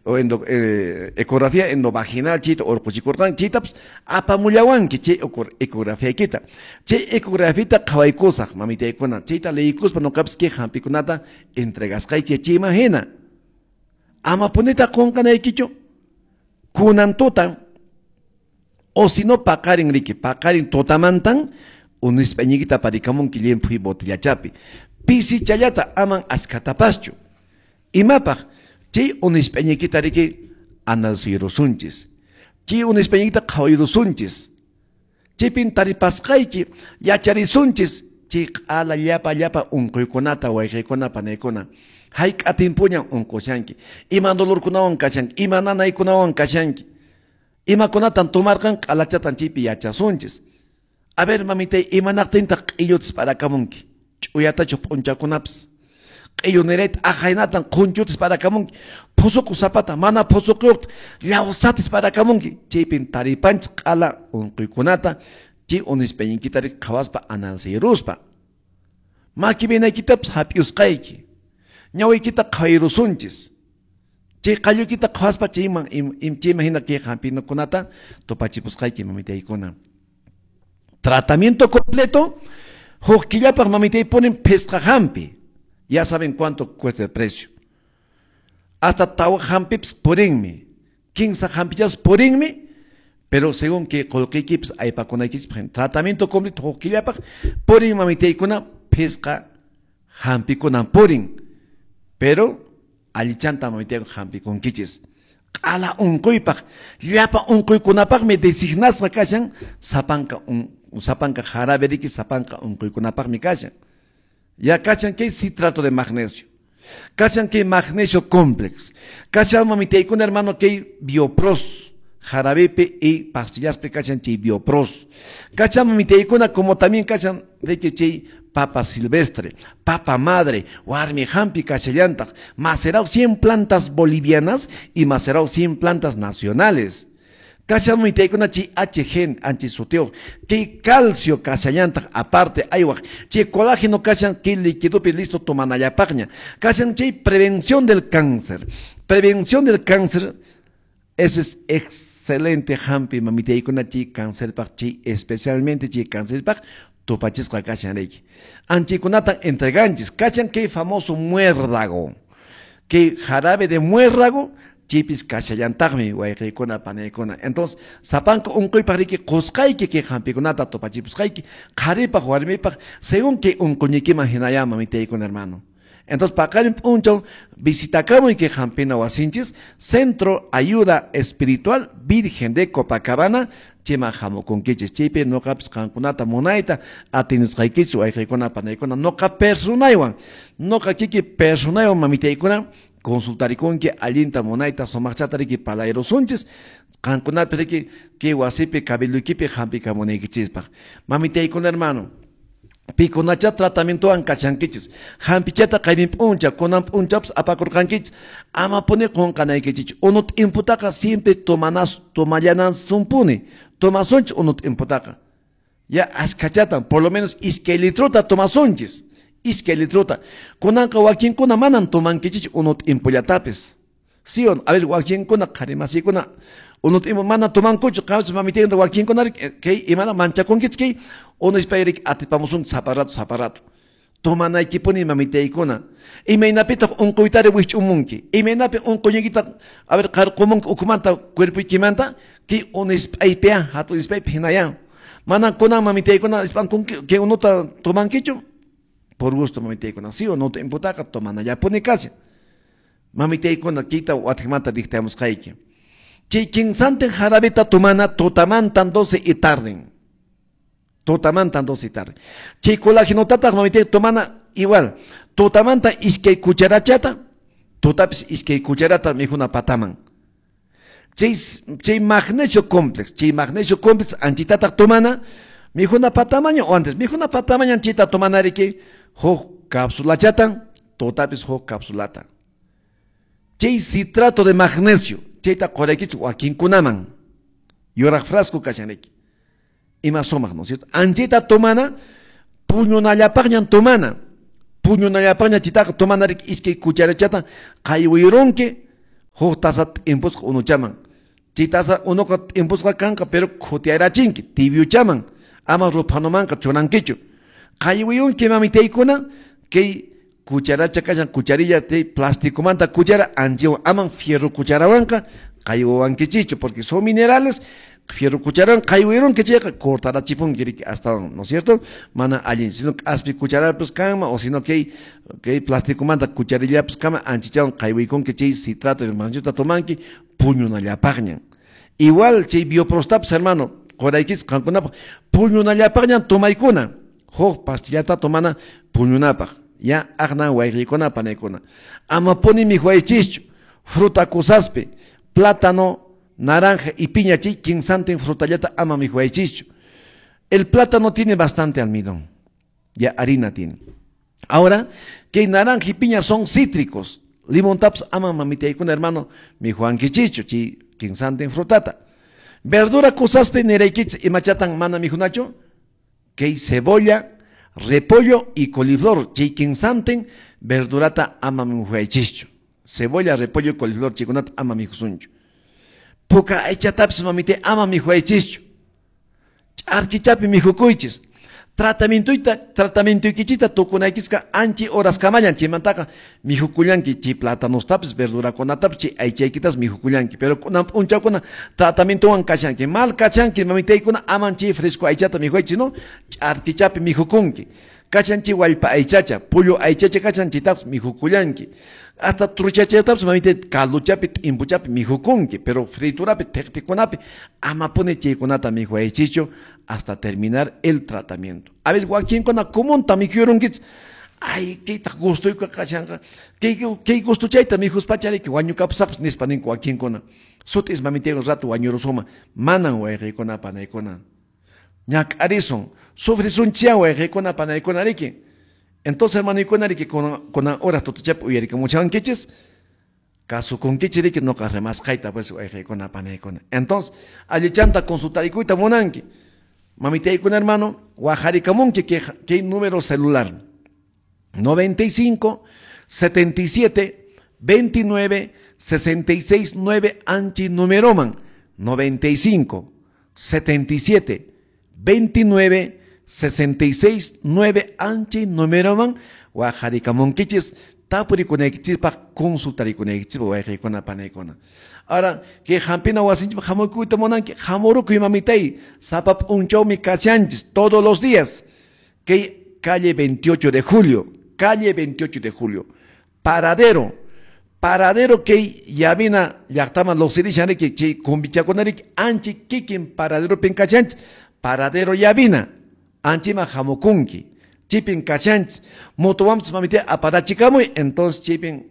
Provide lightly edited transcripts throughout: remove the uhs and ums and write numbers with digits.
o ecografía endovaginal chayta urquchikurqanki, chaytapas apamullawanki chay ecografiaykita. Chay ecografita qhawaykusaq, mamitaykuna, chayta leykuspa noqapas kay hampikunata entregasqayki chayman hina. Ama punita qunqanaykichu kunan tuta o si no paqarin riki, paqarin tutamantan unispañikita parikamunki llimphuy botellachapi. Pisichallata aman askatapaschu. Imapaq chay unispañikita riki analizayrusunchis. Chay unispañikita qhawayrusunchis. Chaypin taripasqayki yacharisunchis chay q'ala llapa llapa unquykunata wayqiykuna panaykuna. Hayk'a timpuñan unqushanki, ima dolorkunawan kashanki, ima nanaykunawan kashanki, imakunatan tomarqan q'alachatan chaypi yachasunchis. A ver, mamitay, imanaqtintaq q'illutas parakamunki, ch'uyatachu p'unchakunapas, q'illu nirayta ahaynatan qhunchutas parakamunki, phusuqu sapata mana phusuquyuqta llawsatas parakamunki, chaypin taripanchis q'ala unquykunata chay unispañiykita riki qhawaspa analizaruspa. Maki vinaykitapas hap'iyusqayki, ñawiykita qhawayrusunchis. Chay qalluykita qhawaspa chayman chayman hina kay hampinakunata tupachipusqayki mamitaykuna. Tratamiento completo, huk killapaq mamitay ponen phisqa hampi. Ya saben cuánto cuesta el precio. Hasta tawa hampipas purinmi, 15 hampichas purinmi, pero según que qullqiykipas aypakunaykichis tratamiento completo huk killapaq purin mamitaykuna phisqa hampikunan purin. Pero allichanta mamitaykuna hampikunkichis. Q'ala unquypaq, llapa unquykunapaqmi designasqa kashan, sapanka jarabe riki, sapanka unquykunapaqmi kashan. Ya kashan kay citrato de magnesio, kashan kay magnesio complex, kashan mamitaykuna hermano kay biopros, jarabepe y pastillaspe kashan chay biopros. Kashan mamitaykuna como también kashan riki chay papa silvestre, papa madre, warmi hampi kashallantaq, macerao 100 plantas bolivianas y macerao 100 plantas nacionales. Kashan mamitaykuna chay HG antisuteo, kay calcio kashallantaq aparte aywaq, chay colágeno kashan kay líquidopi listo tomanallapaqña. Kashan chay prevención del cáncer. Prevención del cáncer, eso es excelente hampi mamitaykuna chay cáncerpaq, chay especialmente chay cáncerpaq tupachisqa kashan riki. Anchikunatan entreganchis, kashan kay famoso muérdago, kay jarabe de muérdago, chipis kashallantaqmi wayqiykuna panaykuna. Entonces, sapanka unquypaq riki qusqayki kay hampikunata tupachipusqayki, qharipaq warmipaq, según kay unquynikiman hinaya mamitaykuna hermano. Entonces, paqarin p'unchaw visitakamuy kay hampina wasinchis, Centro Ayuda Espiritual Virgen de Copacabana, chayman hamukunkichis. Chaypi noqapis qankunata munayta atinusqaykichis wayqiykuna panaykuna, noqa personaywan, noqa kiki personaywan mamitaykuna consultarikunki allinta munayta sumaqchata riki palayrusunchis, qankunapi riki kay wasipi cabilduykipi hampikamunaykichispaq. Mamitaykuna hermano, pikunacha tratamientowan kashankichis, hampichata qaynin p'uncha, kunan p'unchapas apakurqankichis, ama puni qunqanaykichis. Unu t'imputaqa siempre tomallanansunpuni, tomasunchis unu t'imputaqa. Ya askachatan, por lo menos iskay litrota tomasunchis, iskay litrota. Kunanqa wakinkuna manan tomankichis unu t'impullatapis. Sí o no? A ver, wakinkuna qharimasikuna unu t'impu mana tomankuchu, qamchis mamitaykuna wakinkuna kay imana manchakunkichis kay unispayrik atipamusun saparato saparato. Tomanaykipuni mamitaykuna. Imaynapitaq unquytari wikch'umunki, imaynapi unquyniykita a ver qarqumunki ukhumanta cuerpoykimanta kay unispaypiya hatun ispaypi hinayan. Mana kunan mamitaykuna ispankunki kay unuta tomankichu por gusto mamitaykuna. Sí o no t'imputaqa tomanallapuni kashan. Mamitaykuna kayta watiqmanta dictamusqayki. Chay kinsantin jarabeta tomana tutamantan 12 y tarden. Tutamantan 12 y tarde. Chay colágenotataq mamitay tomana igual. Tutamanta iskay cucharachata, tutapis iskay cucharata mijuna pataman. Chay magnesio complex, chay magnesio complex anchitataq tomana mijuna patamaño o antes mijuna patamaño anchita tomana riki huk cápsulachatan, tutapis huk cápsulata. Chay citrato de magnesio, chayta quraykichis wakinkunaman. Yuraq frasco kashanriki. Ima sumaq, ¿no es cierto? Anchita tomana, puñunallapaqñan tomana. Puñunallapaqña chitaqa tomana riki iskay cucharachata qaywirunki, Huk taza t'impusqa unuchaman. Chay taza unuqa t'impusqa kanqa, pero khutiyarachinki, tibiochaman. Ama ruphanumanqa chunankichu. Qaywiyunki mamitaykuna, kay cucharacha kashan, cucharilla te plasticomanta cuchara, anchiwan, aman fierro cucharawanqa, qaywawankichichu, porque son minerales, fierro cucharawan qaywirunki chayqa cortarachipunki riki hasta, ¿no es cierto? Mana allin, sino k'aspi cucharapis kanman, o sino kay plasticomanta cucharillapis kanman, anchichawan qaywiykunki chay citrato de magnesio tomanki, puñunallapaqñan. Igual chay bioprostapis, hermano, qoraykis qankunapaq, puñunallapaqñan tomaykuna, huk pastillata tomana puñunapaq. Ya aqna wayqikuna panaykuna. Ama puni mikhuychischu fruta kusaspi, plátano, naranja y piña chay kinsantin frutallata ama mikhuychischu. El plátano tiene bastante almidón, ya harina tiene. Ahora, que naranja y piña son cítricos. Limón taps ama mamitaykuna hermano mikhuankichichu chay kinsantin frutata. Verdura kusaspi niraykich imachatan mana mikhunachu, que cebolla, repollo y coliflor, chay kinsantin verdurata ama mikhuaychischu. Cebolla, repollo y coliflor chaykunata ama mikhusunchu. Puka aychatapis mamite ama mikhuaychischu. Ch'arkichapi mikhukuychis. Tratamientoykichista tukunaykisqa anchi horas kamallan chaymantaqa mikhukullanki chay platanostapis verdurakunatapis chay aychaykitas mikhukullanki, pero kunan p'unchawkuna tratamientowan kashanki, mal kashanki mamitaykuna aman chay fresco aychata mikhuychis, no? Ch'arkichapi mikhukunki. Kashan chay wallpa aychacha, pollo aychacha kashan chaytapas mikhukullanki. Hasta truchachaytapas mamita caldochapi t'impuchapi mikhukunki, pero friturapi thiqtikunapi ama puni chaykunata mikhuyaychischu hasta terminar el tratamiento. A veces wakinkuna comunta mikhuyurunkichis, ay, kaytaq gustoyqa kashanqa, kay gustochayta mikhuspachariki wañukapusaqpas nispa ninku wakinkuna. Sut'is mamitayku rato wañurusuma, manan wayqiykuna panaykuna. Ñak'arisun, sufrisunchia wayqiykuna panaykuna riki. Entonces, hermano, riki kunan horas tutuchapi uyarikamuchankichis, kasukunkichis riki noqa rimasqayta pues wayqiykuna panaykuna. Entonces, allichanta consultarikuyta munanki. Mamitaykuna hermano, wajarikamunki kay número celular 95 77 29 66 9 anchi numeroman 95 77 29 66 9 anchi numeroman wajarikamunkichis tapurikunaykichispaq consultarikunaykichispaq wayqiykuna panaykuna. Ahora, que hampina wasinchipaq hamukuyta munanki, hamurukuy mamitay, sapa p'unchawmi kashanchis todos los días. Que calle 28 de julio, calle 28 de julio, paradero, paradero que yavina llaqtaman lluqsirishanriki chay kumbichakunariki anchi kikin paraderopin kashanchis, paradero yavina, anchiman hamukunki, chipin kashanchis, motowanpis mamita aparachikamuy, entonces chipin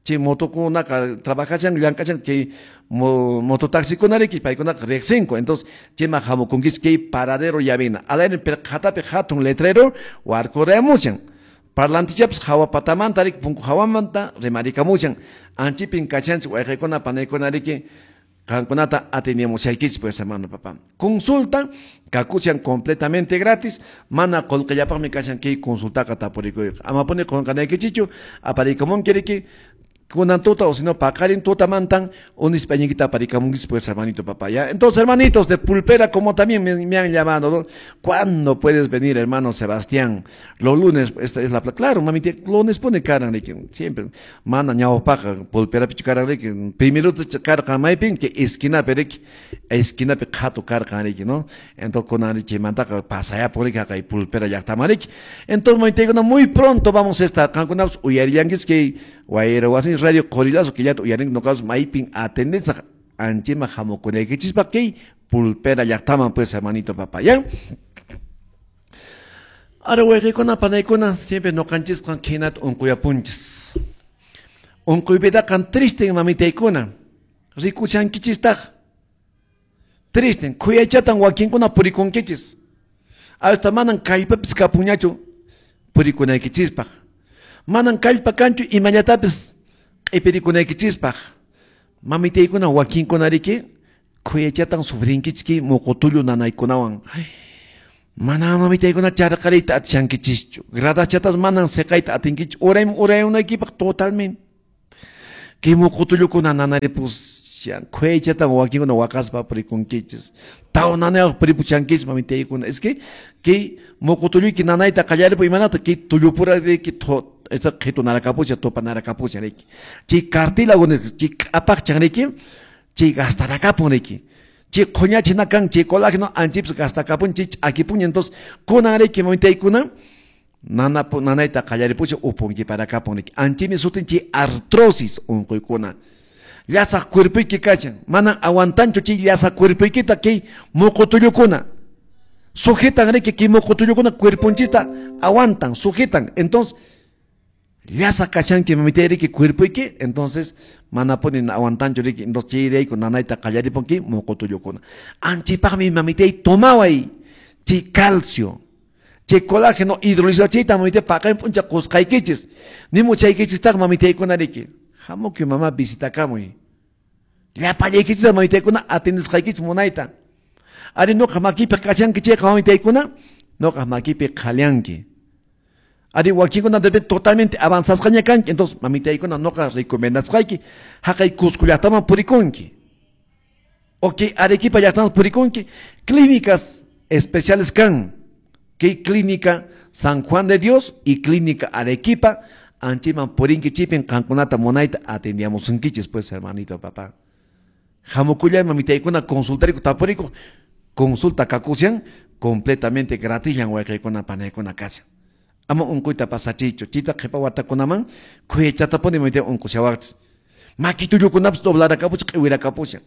chay motokunaqa trabajashan llank'ashan kay mototaxikunariki paykunaqa riqsinku, entonces chayman hamukunkichis kay paradero llavina alayri pirqhatapi hatun letrero warkurayamushan parlantichapis hawa patamanta riki punku hawamanta rimarikamushan anchipin kashanchis wayqiykuna panaykunariki qankunata ateniamushaykichis pues hermano papá. Consulta kakushan completamente gratis, mana qullqillapaqmi kashan kay consultaqa tapurikuyqa. Ama puni qunqanaykichichu aparikamunki riki kunan tuta o si no paqarin tutamantan unispañiquita aparikamunkichis pues hermanito papá. ¿Ya? Entonces hermanitos de Pulpera, como también me han llamado, ¿no? ¿Cuándo puedes venir, hermano Sebastián? Los lunes, esta es la claro, mami, lunes pone cara, siempre mana ñawpaqa Pulpera pichu cara, primero karqa maypin que esquinapi riki, esquinapi qhatu karqa riki, ¿no? Entonces kunan chimantaqa pasayapun riki haqay Pulpera llaqtaman riki. Entonces mamitaykuna muy pronto vamos a estar qankunapas uyarillankis kay wayra wasin radio Qorillazo killata uyarinki noqapas maypin atendesaq anchiman hamukunaykichispaq kay Pulpera llaqtaman pues hermanito papá, ¿ya? Ahora wayqiykuna panaykuna siempre noqanchisqan khinata unquyapunchis. Unquypidaqa tristen mamitaykuna rikushankichistaq tristen khuyaychatan wakinkuna purikunkichis hasta manan kallpapis kapunñachu purikunaykichispaq, manan kallpa kanchu imallatapis q'ipirikunaykichispaq. Mamitaykuna wakinkunariki khuyaychatan sufrinkichis kay muqutullu nanaykunawan. Mana mamitaykuna charqariyta atishankichischu, gradachatas manan siqayta atinkichu, urayunaykipaq totalmente. Kay muqutullukuna nanaripushan, khuychatan wakinkuna waqaspa purikunkichis. Tawnanayaq puripuchankichis mamitaykuna. Es que kay muqutulluyki nanayta qallaripu imanata kay tullupura riki esta qhitunarakapucha tupanarakapucha riki. Chay cartílago chay q'apaqchan riki, chay gastarakapun riki. Chay qhuñachina kan chay colágeno anchipis gastakapun chay ch'akipuña. Entonces kunan riki mamitaykuna nanayta qallaripucha upunkiparakapun riki. Anchimi sutin chay artrosis unquykuna. Llasaq cuerpoyki kachan, manan aguantanchu chay llasaq cuerpoykita kay muqutullukuna. Sujetan riki kay muqutullukuna cuerponchista aguantan, sujetan. Entonces llasa kachanki mamitay riki cuerpoyki, entonces manapuni aguantanchu riki. Entonces chayrayku nanayta qallaripunki muqutullukuna. Anchipaqmi mamitay tomaway chay calcio, chay colágeno hidrolizado chayta mamitay paqarin p'uncha qusqaykichis. Nimuchaykichistaq mamitaykuna riki. Hamukuy mama visitakamuy. Llapallaykichis mamitaykuna atendisqaykichis munayta. Ari noqa makipi kachanki chayqa mamitaykuna, noqa makipi qhalianki. Ari wakinkuna debe totalmente avanzasqaña kanki. Entonces mamitaykuna noqa recomendasqayki haqay Cusco llaqtaman purikunki. Ok, Arequipa llaqtaman purikunki. Clínicas especiales kan. Kay clínica San Juan de Dios y clínica Arequipa anchiman purinki chipin qankunata munayta atendiamusunkichis pues hermanito papá. Hamukullay mamitaykuna consultariku tapuriku consulta kakusian completamente gratis wayqaykuna panaykuna kashan. Ama unquyta pasachiychu, chita qhipa watakunaman khuyachatapuni mamitay unqushawaqchis. Makitullukunapas doblarakapucha q'iwirakapuchan.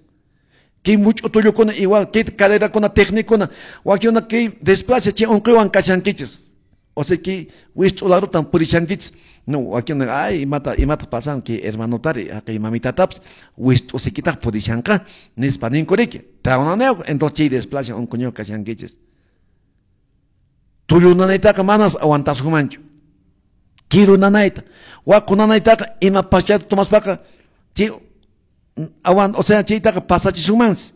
Kay much'u tullukuna igual, kay caderakuna técnicuna, wakinkuna kay desplaza chay unquywan kashankichis. O sea que wist'ularutan purishankichis. No, wakinkuna ay imata pasan kay hermanotari, kay mamitatapas wist'usikitaq purishanqa nispa ninku riki. Tawnanayuq, entonces chay desplaza unquywan kashankichis. Tullu nanaytaqa manas aguantasunmanchu. Kiru nanayta, waqu nanaytaqa ima pachata tomaspaqa chay aguant, o sea chaytaqa pasachisunmansi.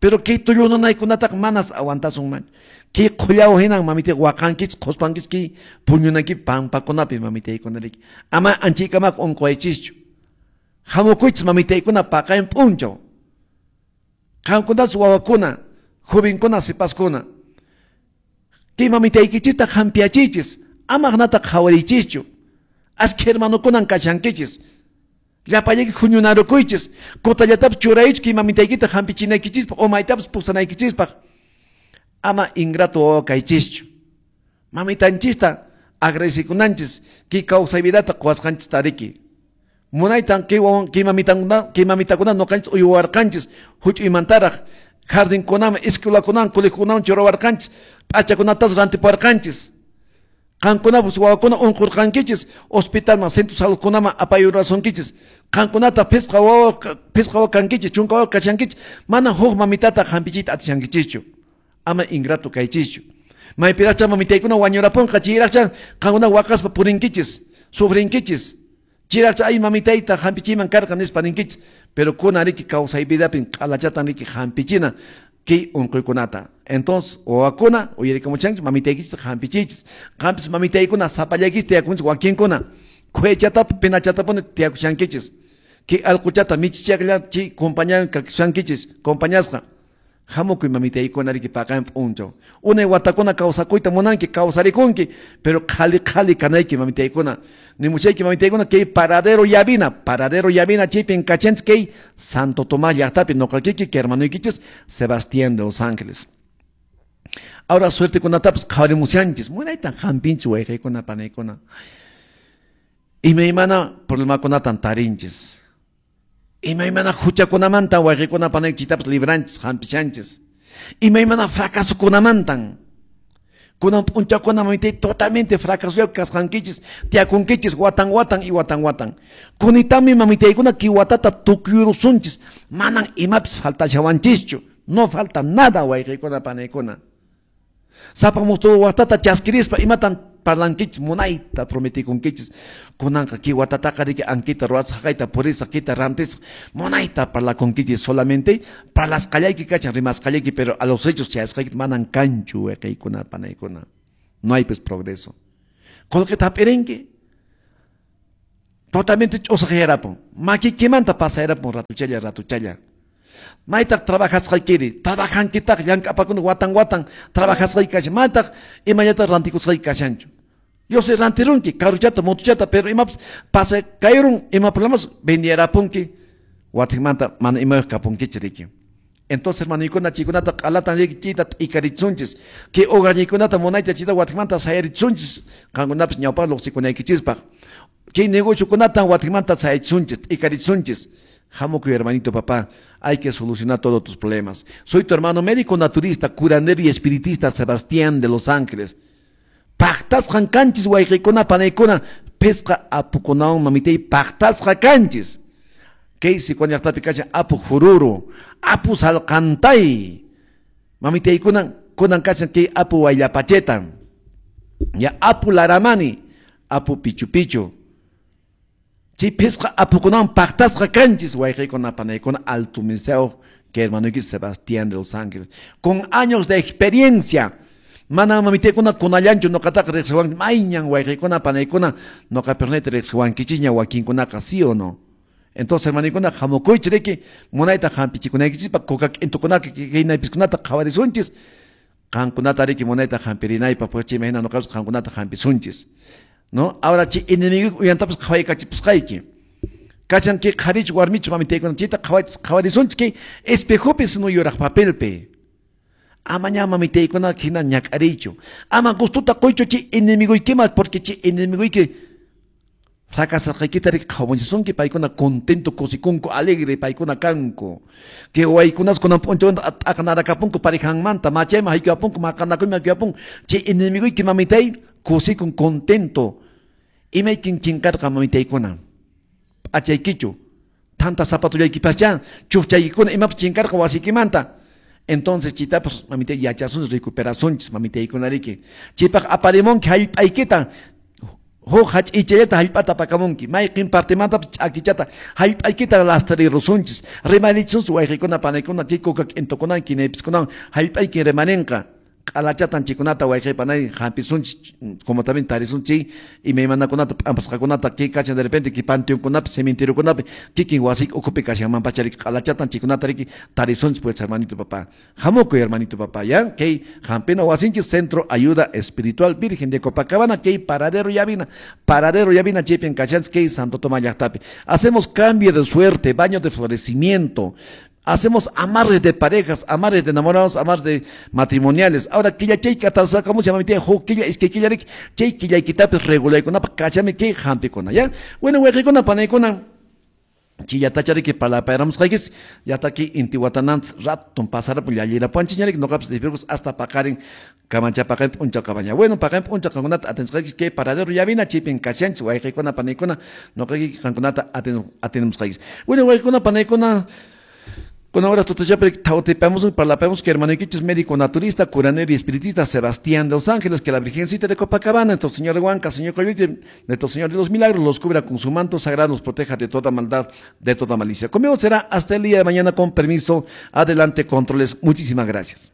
Pero kay tullu nanaykunataqa manas aguantasunmanchu. Kay qhullaw hinan mamitay waqankichis, qhuspankichis kay puñunayki pampakunapi mamitaykuna riki. Ama anchaykamaqa unquwaychischu. Hamukuychis mamitaykuna paqarin p'unchaw. Qamkunatas wawakuna, jovenkuna, sipaskuna. Kay mamitaykichista hampiyachiychis, ama hanata qhawariychischu. Askha hermanokunan kashankichis. Llapallayki huñunarukuychis, kutallatapas churaychis kay mamitaykita hampichinaykichispaq o maytapas pusanaykichispaq. Ama ingrato wawa kaychischu. Mamitanchista agradecikunanchis kay kawsay vidata quwasqanchista riki. Munaytan kay wawan kay mamitakuna, kay mamitakuna nuqanchis uywarqanchis huch'uymantaraq jardinkunaman, escuelakunaman, colegiokunaman churawarqanchis, p'achakunatas rantipuwarqanchis. Qankunapas wawakuna unqurqankichis, hospitalman, centro saludkunaman apayurasunkichis. Qankunata phisqa wawa kankichis, chunka wawa kashankichis, mana huk mamitata hampichiyta atishankichischu. Ama ingrato kaychischu. Maypiraqcha mamitaykuna wañurapunqa, chayraqcha qankuna waqaspa purinkichis, sufrinkichis. Chayraqcha ay mamitayta hampichiyman karqa nispa ninkichis. Pero kuna riki kawsay vidapin q'alachatan riki hampichina kay unquykunata. Entonces, wawakuna uyarikamuchanchis mamitaykichis hampichiychis. Qampis mamitaykuna sapallaykichis tiyakunchis wakinkuna. Khuyachatapa pinachatapuni tiyakushankichis. Kay allquchata michichaqlla chay compañawan kakushankichis, compañasqa. Hamukuy mamitaykuna riki paqarin p'unchaw. Unay watakuna kawsakuyta munanki, kawsarikunki, pero qhali qhali kanayki mamitaykuna. Nimuchayki mamitaykuna kay paradero Llavina chaypin kachanchis kay Santo Tomás llaqtapi nuqakiki kay hermanuykichis Sebastián de Los Ángeles. Ahora suertekunatapas qhawarimushanchis, munaytan hampinchis wayqaykuna panaykuna. Imaymana problemakunatan tarinchis. Imaymana huchakunamantan wayqaykuna panaykichitapas libranchis, hampishanchis. Imaymana fracasokunamantan. Kunan p'unchakuna mamitay totalmente fracasoyaq kasqankichis, tiyakunkichis watan watan y watan watan. Kunitami mamitaykuna kay watata tukuyurusunchis, manan imapis faltashawanchischu. No falta nada wayqaykuna panaykuna. Sapa mustu watata chaskirispa imatan parlankichis, munayta prometikunkichis. Kunanqa kay watataqa riki ankita ruwasaq, haqayta purisaq, kita rantisaq, munayta parlakunkichis. Solamente parlasqallayki kachan, rimasqallayki, pero a los hechos chayasqaykita manan kanchu wayqaykuna panaykuna. No hay pues progreso. Qullqita hap'irinki. Totalmente ch'usaqyarapun. Makikimanta pasayarapun ratuchalla ratuchalla. Maytaq trabajasqaykiri, trabajankitaq llank'apakuna watan watan trabajasqayki kashan, maytaq imallataq rantikusqayki kashanchu. Yo sé rantirunki, carruchata, motochata, pero imapas pasa kayrun, ima problemas vendiyarapunki, watikmanta mana imayuq kapunkichik riki. Entonces, hermanoykuna, chaykunata q'alatan riki chayta t'ikaritsunchis. Kay hogarñiykunata munayta chayta watikmanta sayaritsunchis, qankunapas ñawpaq lluqsikunaykichispaq. Kay negociokunatan watikmanta sayatsunchis, t'ikaritsunchis. Hamukuy, hermanito, papá, hay que solucionar todos tus problemas. Soy tu hermano médico naturista, curandero y espiritista Sebastián de Los Ángeles. Paqtasqan kanchis wayqiykuna panaykuna, phisqa apukunawan mamitay paqtasqa kanchis. Kay Sicuani llaqtapi kashan apu jururu, apu salqantay. Mamitaykuna kunan kashan kay apu wayllapacheta. Ya apu laramani, apu pichu pichu. Chay phisqa apukunawan paqtasqa kanchis wayqiykuna panaykuna altumiseo que hermanoyki Sebastián de Los Ángeles. Con años de experiencia. Mana mamitaykuna kunallanchu noqataqa riqsiwanki mayñan wayqiykuna panaykuna noqa pernayta riqsiwankichikña wakinkunaqa, ¿sí o no? Entonces, hermanoykuna, hamukuychik riki munayta hampichikunaykichispaq kuka k'intukunata kay qhawarisunchis. Qankunata riki munayta hampirinaypaq, pues chay imahina noqapas qankunata hampisunchis. ¿No? Ahora chay enemigo uyantapas qhawaykachipusqayki. Kashan kay qharichu warmichu mamitaykuna chayta qhawarisunchis kay espejopi sino yuraq papelpi. Ama ña mamitaykuna hina ñak'ariychu. Ama gustuta quychu chay enemigoykiman, porque chay enemigoyki fracasasqaykita riki qhawamuchisunki, paykuna contento kusikunku, alegre paykuna kanku. Kay waykunas kunan p'unchawanta t'aqnarakapunku parejanmanta, machayman hayk'uyapunku, maqanakuyman hayk'uyapunku. Chay enemigoyki mamitay kusikun contento. Imaykin chinkarqa mamitaykuna? P'achaykichu, tanta zapatullaykipaschá, chukchaykikuna imapas chinkarqa wasiykimanta. Entonces chaytapas mamitay yachasunchis, recuperasunchis mamitaykuna riki. Chaypaq aparimunki hallp'aykita, huk hach'ichallata hallp'ata apakamunki, mayqin partemantapas ch'akichata hallp'aykita lastarirusunchis, rimarichisunchis wayqiykuna panaykuna kay kuka k'intukunawan kinaypiskunawan hallp'aykin rimarinqa. Q'alachatan chaykunata wayqi panay hampisunchis, como también tarisunchis imaymanakunata p'ampasqakunata kay kashan de repente kay panteonkunapi cementeriokunapi kikin wasiyki ukhupi kashanmanpacha riki q'alachatan chaykunata riki tarisunchis, pues hermanito papá. Hamukuy hermanito papá, ya kay hampina wasinchis Centro Ayuda Espiritual Virgen de Copacabana, kay Paradero Llavina, Paradero Llavina chaypin kashanchis kay Santo Tomás llaqtapi. Hacemos cambio de suerte, baño de florecimiento. Hacemos amarres de parejas, amarres de enamorados, amarres de matrimoniales. Ahora, killa chay katasaka, ¿cómo se llama? Huk killa, es que killa rik, chay killa kitapis regulaykunapaq kachami kay hampikuna, ¿ya? Bueno, wayqiykuna, panaykuna, chillatacha riki parlapayaramusqaykis, yataki intiwatananchis raton pasarapun llallirapuanchis ña riki, noqapas despirkus hasta paqarin kamancha paqarin p'unchaw kabaña. Bueno, paqarin p'unchaw qankunata atendsqaykichis kay Paradero Llavina, chaypin kashanchis, wayqiykuna, panaykuna, noqayki qankunata atendimusqaykichis. Bueno, wayqiykuna, panaykuna, con ahora tutachapri tautipamos parlapamos que hermanoykichis médico naturista, curandero y espiritista Sebastián de Los Ángeles, que la Virgencita de Copacabana, nuestro Señor de Huanca, Señor Coyuti, nuestro Señor de los Milagros, los cubra con su manto sagrado, los proteja de toda maldad, de toda malicia. Conmigo será hasta el día de mañana, con permiso. Adelante, controles. Muchísimas gracias.